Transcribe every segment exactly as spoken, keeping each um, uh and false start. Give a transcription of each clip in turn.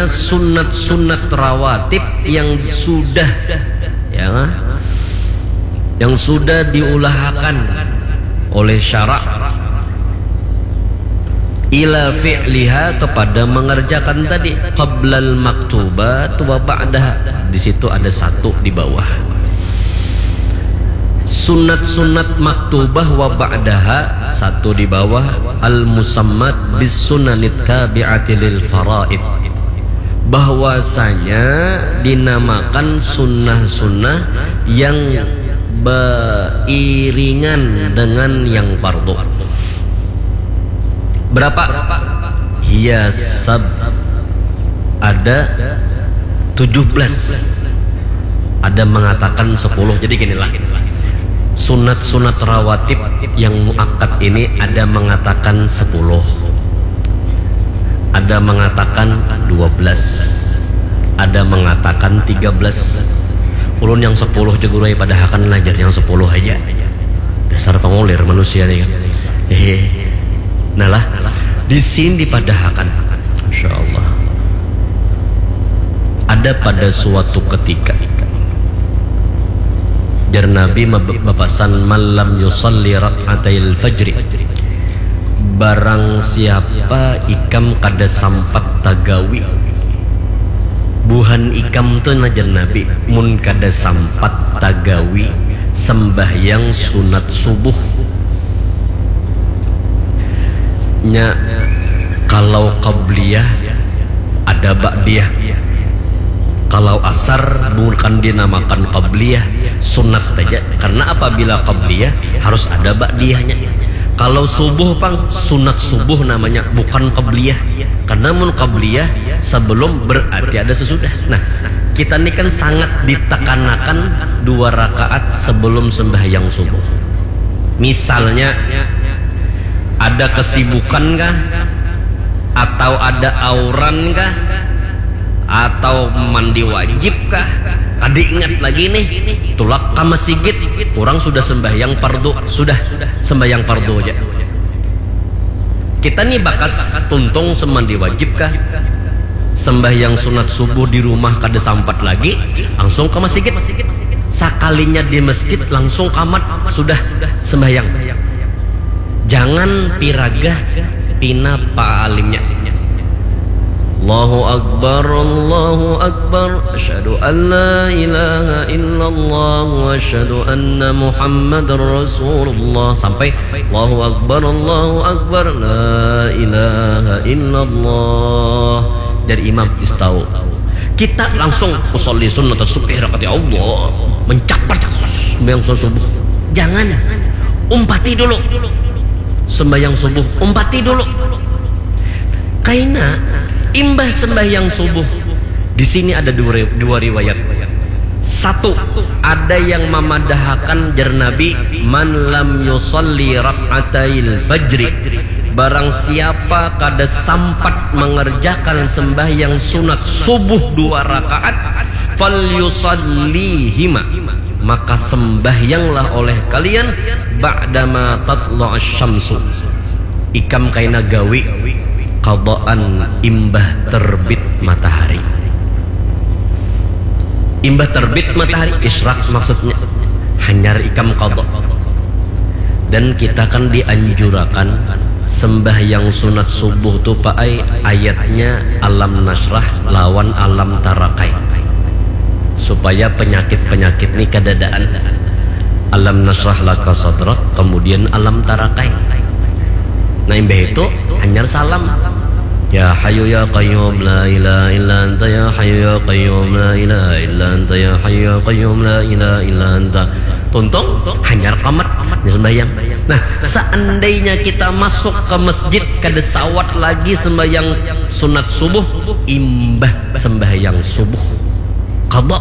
sunat-sunat rawatib yang sudah, ya, yang sudah diulahakan oleh syarak ila fi'liha, kepada mengerjakan tadi, qablal maktubat wa ba'daha. Di situ ada satu di bawah. Sunat-sunat maktubah wa ba'daha, satu di bawah, al musammat bis sunanit tabi'ati lil faraid, bahwasanya dinamakan sunnah-sunnah yang beriringan dengan yang fardu. Berapa? Hiya sab, ada tujuh belas, ada mengatakan sepuluh. Jadi ginilah, sunat-sunat rawatib yang muakkad ini ada mengatakan sepuluh, ada mengatakan dua belas, ada mengatakan tiga belas. Ulun yang sepuluh je guru ai padahakan lah, jar, yang sepuluh aja. Dasar pangulir manusia nih kan. Hehe. Nah lah, di sini dipadahakan. Masya Allah. Ada pada suatu ketika, jar Nabi mab-, bapasan, "Man lam yusalli rak'atail fajri." Barang siapa ikam kada sampat tagawi. Buhan ikam tu, nah, jar Nabi, mun kada sampat tagawi sembahyang sunat subuh. Nya, kalau qabliyah ada ba'diyah. Kalau asar bukan dinamakan qabliyah, sunat saja. Karena apabila qabliyah harus ada ba'diyahnya. Kalau subuh pang, sunat subuh namanya, bukan qabliyah. Karena mun qabliyah sebelum, berarti ada sesudah. Nah, kita ni kan sangat ditekanakan dua rakaat sebelum sembahyang subuh. Misalnya, ada kesibukan kah? Atau ada auran kah? Atau mandi wajib kah? Kada ingat lagi nih. Tulak ka masigit, urang sudah sembahyang pardu, sudah sembahyang pardu aja. Kita nih bakas tuntung semandi wajib kah? Sembahyang sunat subuh di rumah kada sampat lagi, langsung ke masigit. Sakalinya di masjid, langsung kamat, sudah sembahyang. Jangan piragah pina paalimnya. Allahu Akbar, Allahu Akbar, asyhadu an la ilaha illallah wa asyhadu anna Muhammadar Rasulullah, sampai Allahu Akbar, Allahu Akbar, la ilaha illallah. Jar imam, "Istau." Kita langsung, "Usolli sunnata subhi rakaat, ya Allah." Mencapat sembahyang subuh. Jangan. Umpati dulu. Sembahyang subuh, umpati dulu. Kaina, imbah sembahyang subuh. Di sini ada dua, dua riwayat. Satu, ada yang mamadahakan, jar Nabi, "Man lam yusalli rak'atail fajri." Barang siapa kada sampat mengerjakan sembahyang sunat subuh dua rakaat, "Falyusallihima." Maka sembahyanglah oleh kalian, "ba'dama tatla'asy syamsu." Ikam kaina gawi qadaan imbah terbit matahari. Imbah terbit matahari, isyraq maksudnya, hanyar ikam qada. Dan kita kan dianjurakan sembahyang sunat subuh tu, Pak ai, ayatnya Alam Nasyrah lawan Alam Tarakai, supaya penyakit-penyakit ni kadadaan. Alam Nasyrah Laka Sadrak, kemudian Alam Tarakai. Nah, imbah itu hanyar salam. Ya Hayyu ya Qayyum la ilaha illa anta, ya Hayyu ya Qayyum la ilaha illa anta, ya Hayyu ya Qayyum la ilaha illa anta. Tuntung, hanyar kamat, hanyar sembahyang. Nah, seandainya kita masuk ke masjid, kada sawat lagi sembahyang sunat subuh, imbah sembahyang subuh, qada.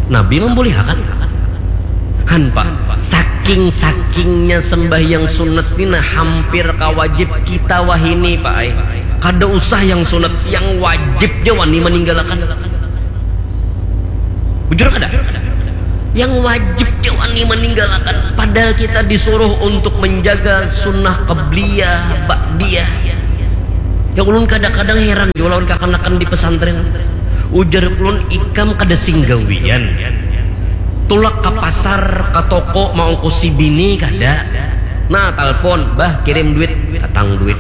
Nabi membolehkan. Han, Pak, saking-sakingnya sembahyang sunat ni, nah, hampir kawajib kita wahini, Pak ai. Kada usah yang sunat, yang wajib ja wani maninggalakan. Bujur kada? Yang wajib ja wani maninggalakan. Padahal kita disuruh untuk menjaga sunnah qabliyah, ba'diyah. Ya ulun kadang-kadang heran jua lawan kakanakan di pesantren. Ujar ulun, ikam kada sing gawian. Tulak ka pasar, ka toko, maungkusi bini kada. Nah, talpon, "Bah, kirim duit." Datang duit.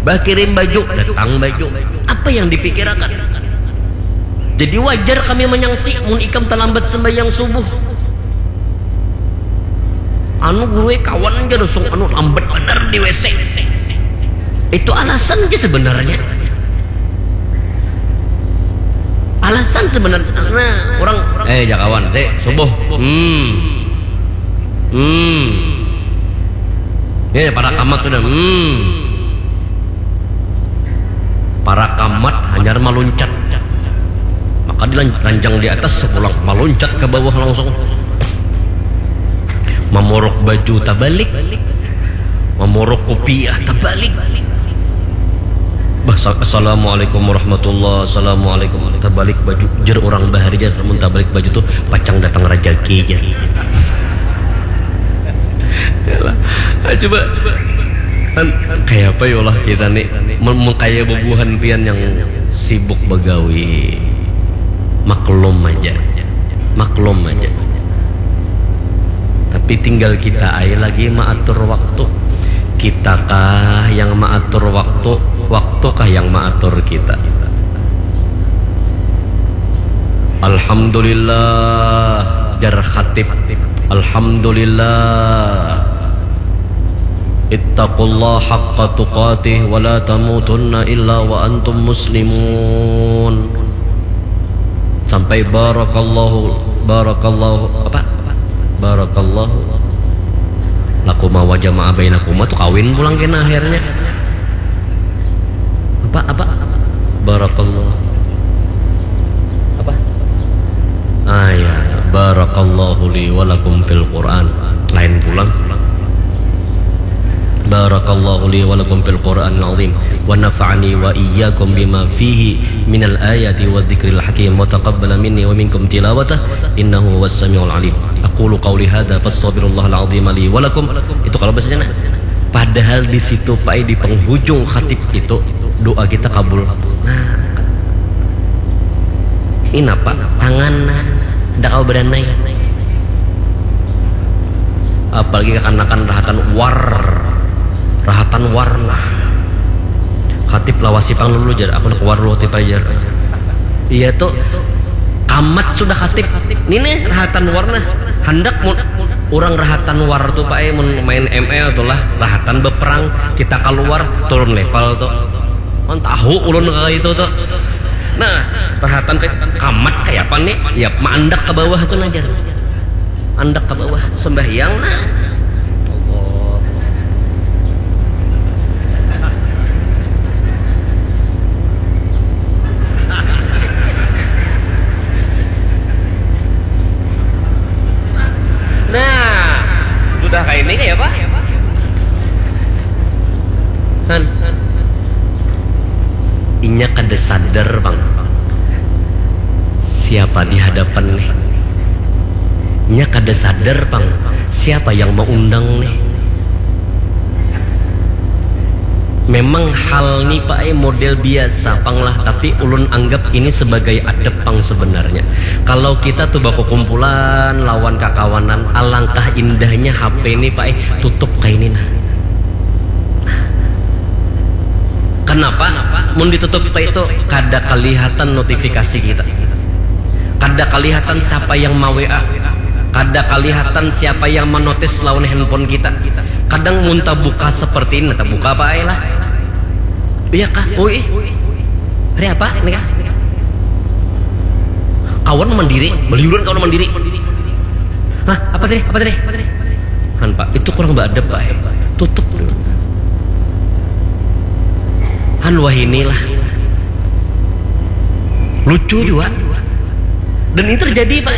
"Bah, kirim baju." Datang baju. Apa yang dipikirakan? Jadi wajar kami manyangsi mun ikam talambat sembahyang subuh. Anu guru, eh, kawan aja langsung anu lambat banar di W C. Itu alasan aja sebenarnya. Alasan sebenarnya. Nah, orang, eh, jakawan, dek, subuh. Hmm. Hmm. Ya, para kamat sudah. Hmm. Para kamat hanyar maluncat. Maka dilanjang di atas, pulang maluncat ke bawah langsung. Mamorok baju tabalik. Mamorok kopiah tabalik. Bah, sa-, "Assalamualaikum warahmatullah, assalamualaikum." Tabalik baju, jer orang bahari, jer, mun tabalik baju tuh pacang datang rajaki, jer. Yalah. Ah, coba. Kan, kayak apa ya lah kita nih? Mun, mun kayak bubuhan pian yang sibuk begawi. Maklum aja. Maklum aja. Tapi tinggal kita aja lagi maatur waktu. Kitakah yang maatur waktu, waktukah yang maatur kita? Alhamdulillah, jar khatib. Alhamdulillah. Ittaqullah haqqa tuqatih wa la tamutunna illa wa antum muslimun. Sampai barakallahu, barakallahu, apa? Barakallahu lakuma wa jama'a bainakuma tuh kawin pulang kena akhirnya. Apa, apa? Barakallahu. Apa? Ah, ya. Barakallahu li wa lakum fil Qur'an. Lain pulang. Barakallahu li wa lakum fil Qur'anil azim, wa nafa'ani wa iyyakum bima fihi minal ayati wa dzikril hakim, wa taqabbala minni wa minkum tilawatah, innahu huwas samiul alim. Aqulu qawli hadza fastaghfirullahal azim li wa lakum. Itu kalau bahasanya, nah. Padahal di situ, Pak, di penghujung khatib itu, doa kita kabul. Nah, ini apa? Tangan, nah, ndak kawa beranai. Apalagi kakanakan rahatan war, rahatan war, nah. Khatib lawasi pang dulu, jar. Aku nak war dulu, khatib, jar. Iya tuh, kamat sudah khatib. Ini nih rahatan war, nah. Handak mun urang rahatan war tuh, Pak, eh, mun main M L tuh lah, rahatan beperang, kita keluar, turun level tuh. Mun tahu ulun kayak itu tuh. Nah, rahatan kayak kamat kayak apa nih? Ya, maandak ke bawah tuh, nah, jar. Andak ke bawah, sembahyang, nah. Allah. Nah, sudah kayak ini kayak apa? Han. Inya kada sadar pang siapa di hadapan nih. Inya kada sadar pang siapa yang maundang nih. Memang hal ni, Pak, eh, model biasa pang lah, tapi ulun anggap ini sebagai adab pang sebenarnya. Kalau kita tuh bakukumpulan lawan kakawanan, alangkah indahnya H P ni, Pak, eh, tutup kayak ini, nah. Kenapa? Mun ditutup, Pak, itu kada kelihatan notifikasi kita. Kada kelihatan siapa yang ma-W A. Kada kelihatan siapa yang menotis lawan handphone kita. Kadang mun tabuka seperti ini, tabuka apa ae lah. Iya kah? Oh, ih. Hari apa? Ini kah? Kawan mandiri, beliuran kawan mandiri. Hah, apa tadi? Apa tadi? Han, Pak, itu kurang beadab, Pak. Tutup dulu. Han, wah, inilah. Lucu juga. Dan ini terjadi, Pak.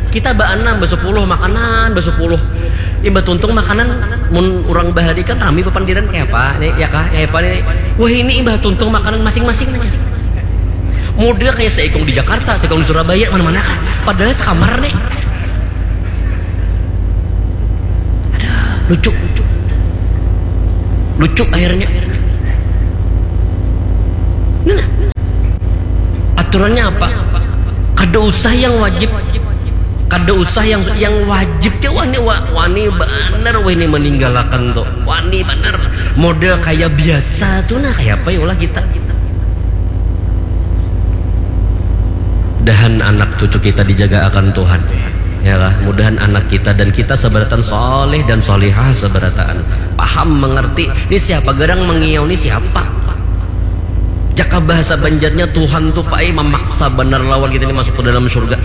Kita baanam, basepuluh makanan, basepuluh. Imbah tuntung makanan, mun urang bahari kan rami papandiran kayak apa nih, ya kah? Kayak apa nih? Wah, ini imbah tuntung makanan masing-masing nih. Model kayak seikung di Jakarta, seikung di Surabaya, mana-mana kah? Padahal sekamar nih. Ada lucu, lucu. Lucu akhirnya. Aturannya apa? Kada usah yang wajib. Kada usah yang yang wajib ja wani wa- wani banar wani maninggalakan tu. Wani banar. Model kaya biasa tu nah, kaya apa ya ulah kita. Mudahan anak cucu kita dijaga akan Tuhan. Ya lah, mudahan anak kita dan kita sabarataan saleh dan salihah sabarataan. Paham, mengerti. Ni siapa garang mengiau ni siapa? Jaka bahasa Banjarnya Tuhan tu paai mamaksa banar lawan kita ni masuk ke dalam surga.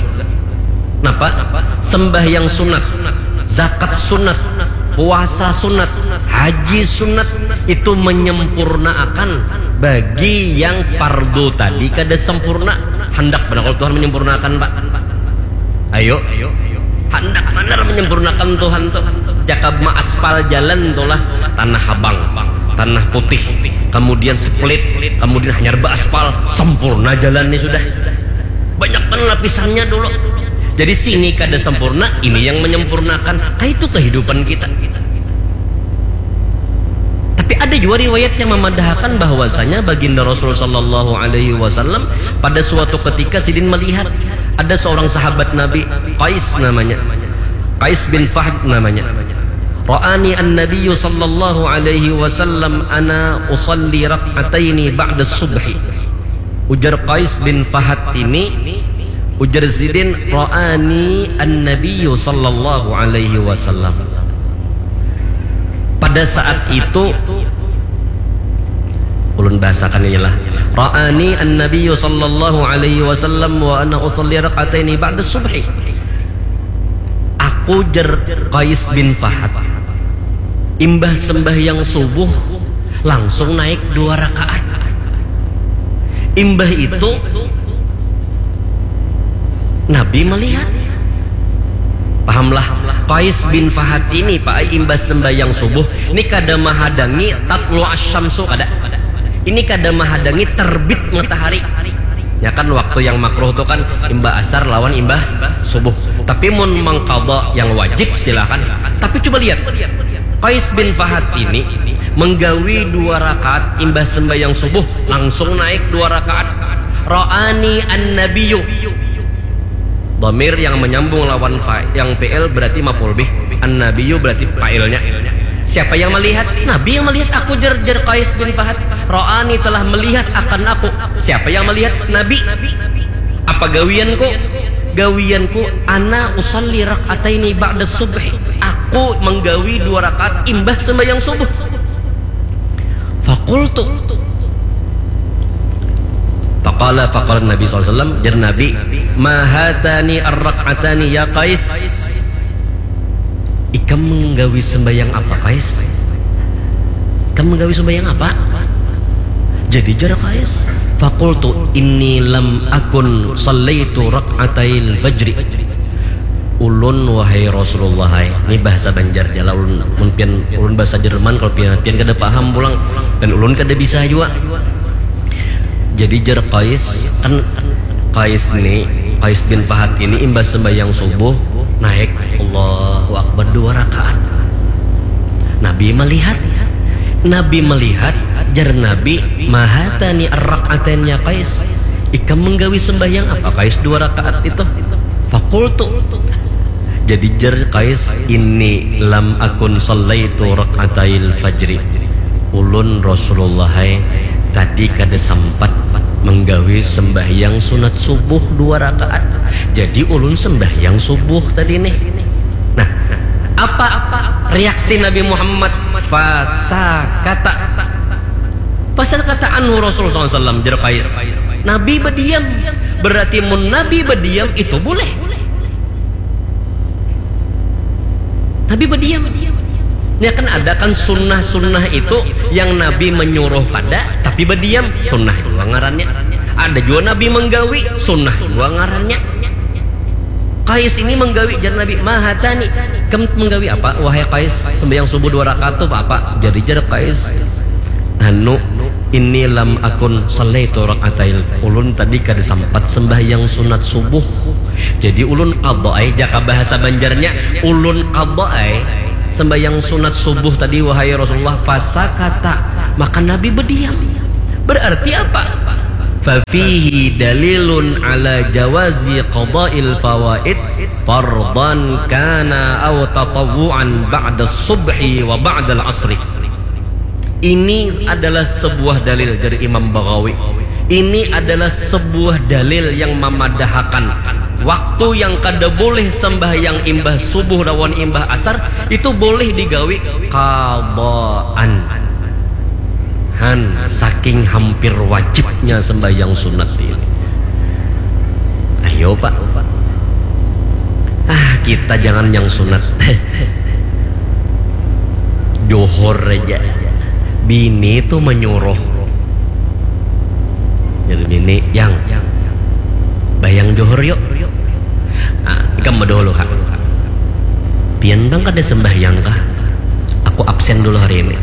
Napa? Sembahyang sunat, zakat sunat, puasa sunat, haji sunat itu menyempurnaakan bagi yang fardu tadi kada sempurna. Handak banar kalau Tuhan menyempurnaakan, Pak. Ayo, handak banar menyempurnakan Tuhan tu. Jaka maaspal jalan tu lah, tanah habang, tanah putih, kemudian split, kemudian hanyar baaspal, sempurna jalan ni sudah. Banyak kan lapisannya dulu. Jadi sini kada sempurna, ini yang menyempurnakan. Kaitu kehidupan kita. Tapi ada juga riwayat yang memadahakan bahwasanya Baginda Rasul sallallahu alaihi wasallam pada suatu ketika sidin melihat ada seorang sahabat Nabi, Qais namanya. Qais bin Fahd namanya. Ra'ani an-nabiyyu sallallahu alaihi wasallam ana usalli rak'ataini ba'da subhi. Ujar Qais bin Fahad ini, ujar sidin, ra'ani an-nabiyyu sallallahu alaihi wasallam. Pada saat itu, ulun bahasakan inilah. Ra'ani an-nabiyyu sallallahu alaihi wasallam wa ana usalli rak'ataini ba'da subhi. Aku, jer Qais bin Fahad, imbah sembahyang subuh langsung naik dua rakaat. Imbah itu Nabi melihat. Pahamlah, Qais bin Fahad ini, Pak, imbah sembahyang subuh ni kada mahadangi tatlu asyamsu, kada. Ini kada mahadangi terbit matahari. Ya kan, waktu yang makruh tu kan imbah asar lawan imbah subuh. Tapi mun mengqadha yang wajib silakan. Tapi coba lihat. Qais bin Fahad ini menggawi dua rakaat imbah sembahyang subuh, langsung naik dua rakaat. Ra'ani an-nabiyyu. Dhamir yang menyambung lawan fa, yang fi'il berarti maf'ul bih. An-nabiyyu berarti fa'ilnya. Siapa yang melihat? Nabi yang melihat. Aku, jer, jer Qais bin Fahad. Ra'ani, telah melihat akan aku. Siapa yang melihat? Nabi. Apa gawianku? Gawianku, ana usalli rak'ataini ba'da subhi. Aku menggawi dua rakaat imbah sembahyang subuh. Fakultu. Faqala, faqala Nabi sallallahu alaihi wasallam, jer Nabi, ma hatani ar-rak'atani ya Qais. Ikam menggawi sembahyang apa, Qais? Ikam menggawi sembahyang apa? Jadi jer Qais, fakultu inni lam akun sallaitu rak'atail fajri. Ulun, wahai Rasulullah, hai. Ini bahasa Banjar ja lah ulun. Mun pian, ulun bahasa Jerman, kalau pian, pian kada paham pulang. Dan ulun kada bisa jua. Jadi jer Qais, kan Qais ni, Qais bin Fahad ini imbah sembahyang subuh, naik Allahu Akbar dua rakaat. Nabi melihat. Nabi melihat, jer Nabi, ma hatani ar-rak'atain ya Qais. Ikam menggawi sembahyang apa, Qais, dua rakaat itu? Fakultu. Jadi jer Qais, inni lam akun sallaitu rak'atail fajri. Ulun, Rasulullah, hai, tadi kada sampat menggawi sembahyang sunat subuh dua rakaat. Jadi ulun sembahyang subuh tadi nih. Nah, apa reaksi Nabi Muhammad? Fasakata. Fasakata anhu Rasulullah sallallahu alaihi wasallam, jer Qais. Nabi bediam. Berarti mun Nabi bediam, itu boleh. Nabi bediam. Ini kan ada kan sunnah-sunnah itu yang Nabi menyuruh kada, tapi bediam. Sunnah jua ngarannya. Ada jua Nabi menggawi, sunnah jua ngarannya. Qais ini menggawi, jer Nabi, ma hatani. Kam menggawi apa, wahai Qais? Sembahyang subuh dua rakaat tu apa? Jadi jer Qais, anu, inni lam akun sallaitu rak'atail. Ulun tadi kada sampat sembahyang sunat subuh. Jadi ulun qadha ai, jaka bahasa Banjarnya, ulun qadha ai sembahyang sunat subuh tadi, wahai Rasulullah. Fasakata, maka Nabi bediam. Berarti apa? Fafihi dalilun ala jawazi qada'il fawaid fardan kana aw tatawwu'an ba'da subhi wa ba'dal asri. Ini adalah sebuah dalil dari Imam Baghawi. Ini adalah sebuah dalil yang mamadahakan waktu yang kada boleh sembahyang imbah subuh lawan imbah asar itu boleh digawi qadaan. Han, saking hampir wajibnya sembahyang sunat ini. Ayo, Pak. Ah, kita jangan yang sunat. Johor aja. Bini tuh menyuruh. Jadi bini, "Yang, bayang johor yuk." Ah, ikam dahulu, ha. "Pian bang kada sembahyang kah? Aku absen dulu hari ini."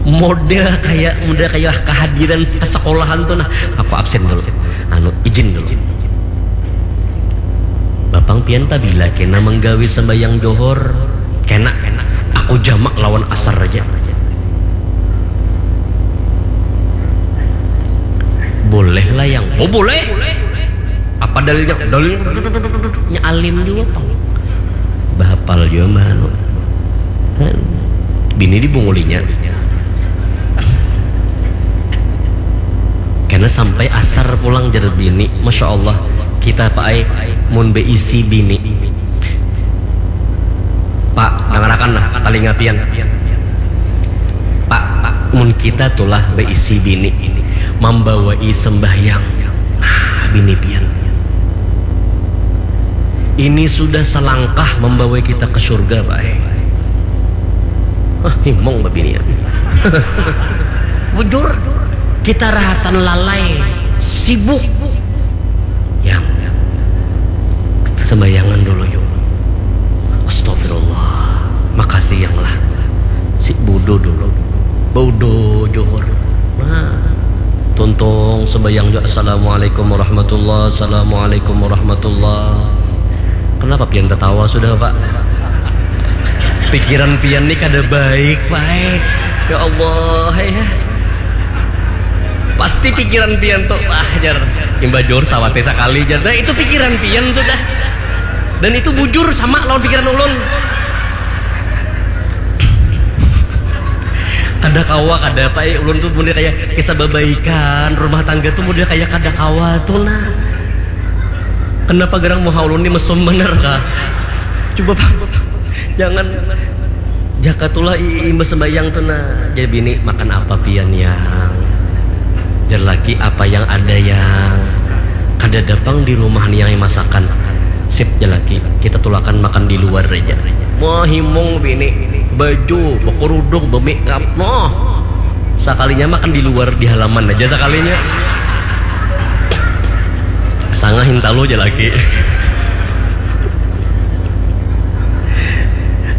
Model kayak, model kayak kehadiran ke sekolahan tuh, nah. "Aku absen dulu. Anu, izin dulu." "Bapang pian pabila kena menggawi sembahyang johor?" "Kena, aku jamak lawan asar aja." "Boleh lah, Yang." "Oh, boleh." "Apa dalilnya?" "Dalilnya nya alim juga, pang." Bahapal juga, mah, anu. Bini dibungulinya. Karena sampai asar pulang, jar bini. Masya Allah, kita, Pak ai, mun beisi bini. Pak, dangarakan lah, talinga pian. Pak, Pak, mun kita tulah beisi bini, mambawai sembahyang. Nah, bini pian. Ini sudah selangkah membawai kita ke surga, Pak ai. Ah, himung babinian. Bujur, kita rahatan lalai, sibuk. Yang, kita sembayangan dulu yuk. Astagfirullah. Makasih, Yang, lah. Si budu dulu. Baudu johor. Nah. Tuntung sembayang juga. Assalamualaikum warahmatullah. Assalamualaikum warahmatullah. Kenapa pian tertawa sudah, Pak? Pikiran pian nih kada baik, Pak. Ya Allah, ya. Pasti pikiran pian tuh, "Wah, jar, imbah johor sawatnya sakali, jar." Nah, itu pikiran pian sudah. Dan itu bujur sama lawan pikiran ulun. Kada kawa, kada apa, eh, ulun tuh model kayak kisah babaikan, rumah tangga tuh model kayak kada kawa tuh, nah. Kenapa garang muha ulun ni mesum banar kah? Coba, Pak. Jangan. Jaka tulah i-, imbah sembahyang tuh, nah. Jadi bini, "Makan apa pian, Yang?" Jar laki, "Apa yang ada, Yang? Kada ada pang di rumah ni yang masakan." "Sip," jar laki, "kita tulakan makan di luar aja." Wah, himung bini, baju, bekerudung, bemake up, noh. Sakalinya makan di luar, di halaman aja sakalinya. Sanga hintalu ja laki.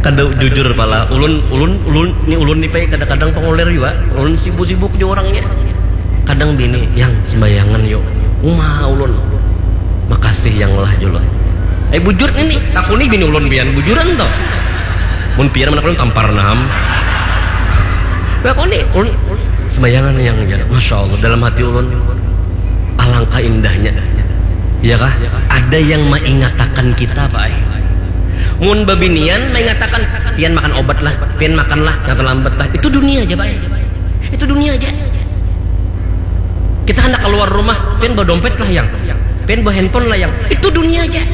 Kada jujur pala. Ulun, ulun, ulun, ni ulun ni, Pai, kadang-kadang pangoler jua. Ulun sibuk-sibuk ja urangnya. Kadang bini, "Yang, sembayangan yuk." Uma ulun. "Makasih, Yang, lah," jua ulun. Eh, bujur ni, ni. Takuni bini ulun pian, bujuran toh. Mun pian mana ulun tampar nah am. Takuni, ulun, ulun sembayangan, Yang, jar. Masya Allah, dalam hati ulun, alangkah indahnya. Iya kah? Ada yang mengingatakan kita, Pak ai. Mun babinian mengingatakan, "Pian makan obat lah, pian makan lah, jangan terlambat lah." Itu dunia aja, Pak ai. Itu dunia aja. Kita hendak keluar rumah, "Pian bawa dompet lah, Yang. Pian bawa handphone lah, Yang." Itu dunia aja.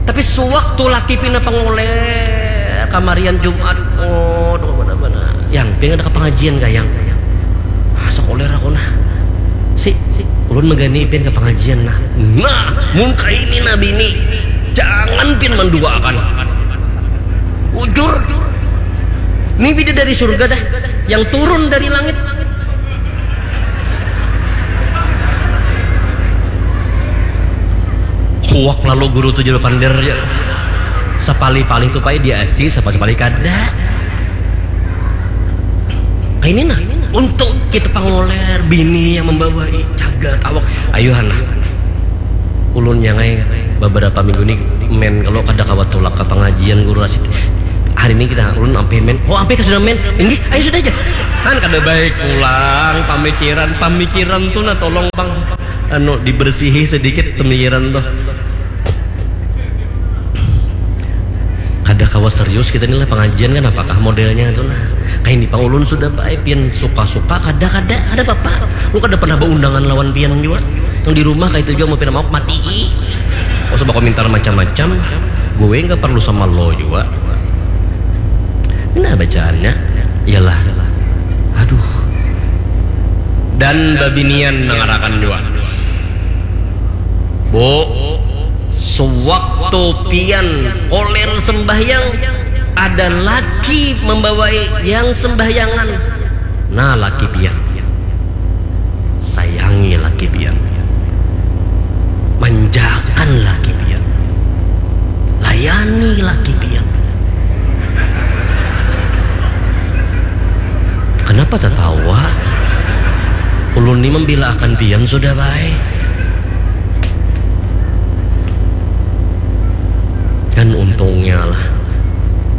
Tapi sewaktu laki pina pangoler, kamarian Jumat, oh, dong, mana, mana. "Yang, pian ada ke pengajian kah, Yang?" "Ah, sekoler aku nah." "Si, si, ulun megani pian ke pengajian nah." Nah, mun kaini nah bini, jangan pian menduakan. Ujur. Ini bida dari surga dah, yang turun dari langit. Huak lalu guru tujuh delapan der, ya. Sapalih-palih tu pai diasi, sapalih-palih kada. Kaini nah, untung kita pangoler, bini yang membawai, cagat awak. Ayuhan lah. Ulun nyangai beberapa minggu ni men kalau kada kawa tulak ka pangajian guru Rasid. Hari ini kita ulun ampih men. Oh, ampih ka sudah men. Ini ayo sudah aja. Kan kada baik pulang pamikiran. Pamikiran tuh nah tolong bang anu dibersihi sedikit pemikiran tuh. Kada kawa serius kita ni lah pengajian kan apakah modelnya tuh nah. Kayak ini pang ulun sudah baik pian suka-suka kada kada ada apa-apa. Lu kada pernah berundangan lawan pian juga. Yang di rumah kayak itu juga mau pindah mau mati. Gak usah bakomentar macam-macam. Gue nggak perlu sama lo juga. Nah bacaannya ialah aduh. Dan babinian nangarakan juga. Bu, sewaktu pian koler sembahyang ada laki membawai yang sembahyangan. Nah laki pian. Sayangi laki pian. Manjakan laki pian. Layani laki pian. Kenapa tertawa? Ulun ni membela akan pian sudah baik. Dan untungnya lah